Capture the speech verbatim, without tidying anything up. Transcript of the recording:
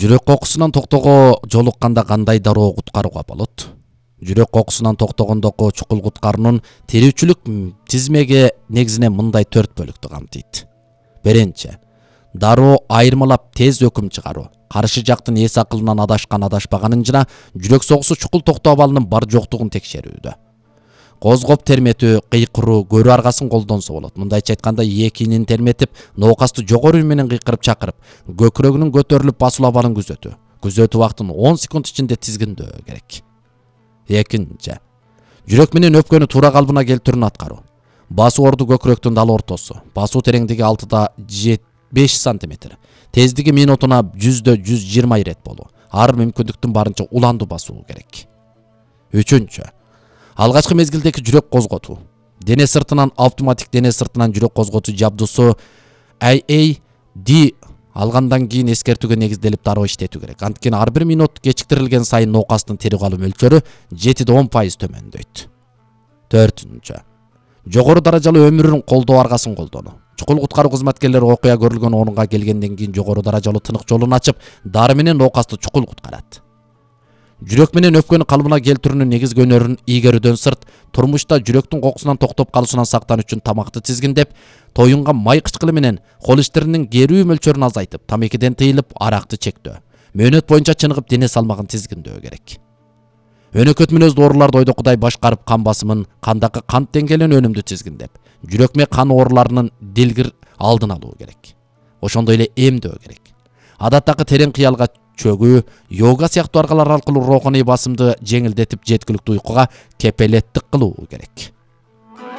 Жүрөк кокусунан токтоого жолукканда кандай дароо куткарууга болот? Жүрөк кокусунан токтогондогу чукул куткаруунун терүүчүлүк тизмеги негизинен мындай төрт бөлүктү камтыйт. Биринчи, дароо айырмалап тез өкүм чыгаруу. Каршы жактын эс акылынан адашкан адашпаганын жана жүрөк согуусу чукул токтоо абалынын бар жоктугун текшерүүдө. Козгоп терметүү, кыйкыруу, көрүү аргасын колдонсо болот. Мындайча айтканда, экинин терметип, ноокасту жогору менен кыйкырып чакырып, көкүрөгүнүн көтөрүлүп басуу абалын күзөтүү. Күзөтүү убактын он секунд ичинде тизгиндөө керек. Экинчи, жүрөк менен өпкөнү туура калыбына келтирүүнү аткаруу. Басуу орду көкүрөктүн дал ортосу. Басуу тереңдиги алтыда беш сантиметр. Тездиги минутуна жүздө жүз жыйырма ирет болуу. Ар мүмкүндүктүн барынча уландуу басуу керек. Үчүнчү, алгачкы мезгилдеги жүрөк козготуу. Дене сыртынан автоматик дене сыртынан жүрөк козготуу жабдуусу А А Д алгандан кийин эскертүүгө негизделип дароо иштетүү керек. Анткени ар бир минут кечиктирилген сайын ноокастын тери калуу мөлчөрү жетиден он пайыз төмөндөйт. Төртүнчү, жогору даражалуу өмүрүн колдоо аргасын колдонуу. Чукул куткаруу кызматкерлери окуя көрүлгөн орунга келгенден кийин жогору даражалуу тынык жолун ачып, дары менен ноокасту чукул куткарат. Жүрөк менен өпкөнү калыбына келтирүүнүн негизги өнөрүн ийгерүүдөн сырт, турмушта жүрөктүн кокусунан токтоп калуусунан сактануу үчүн тамакты тизгиндеп, тоюнган май кычкылы менен кол иштеринин керүү мөлчөрүн азайтып, тамекиден тыйылып, аракты чектөө. Мөөнөт боюнча чыныгып дене салмагын тизгиндөө керек. Өнөкөт мүнөздүү ооруларды ойдокудай башкарып, кан басымын, кандагы кант деңгээлин өнүмдүү тизгиндеп, жүрөк менен кан ооруларынын дилгир алдын алуу керек. Ошондой эле эмдөө керек. Адаттагы терең кыялга чөгүү, йога сыяктуу аргалар аркылуу руханий басымды жеңилдетип, жеткиликтүү уйкуга кепелеттик кылуу керек.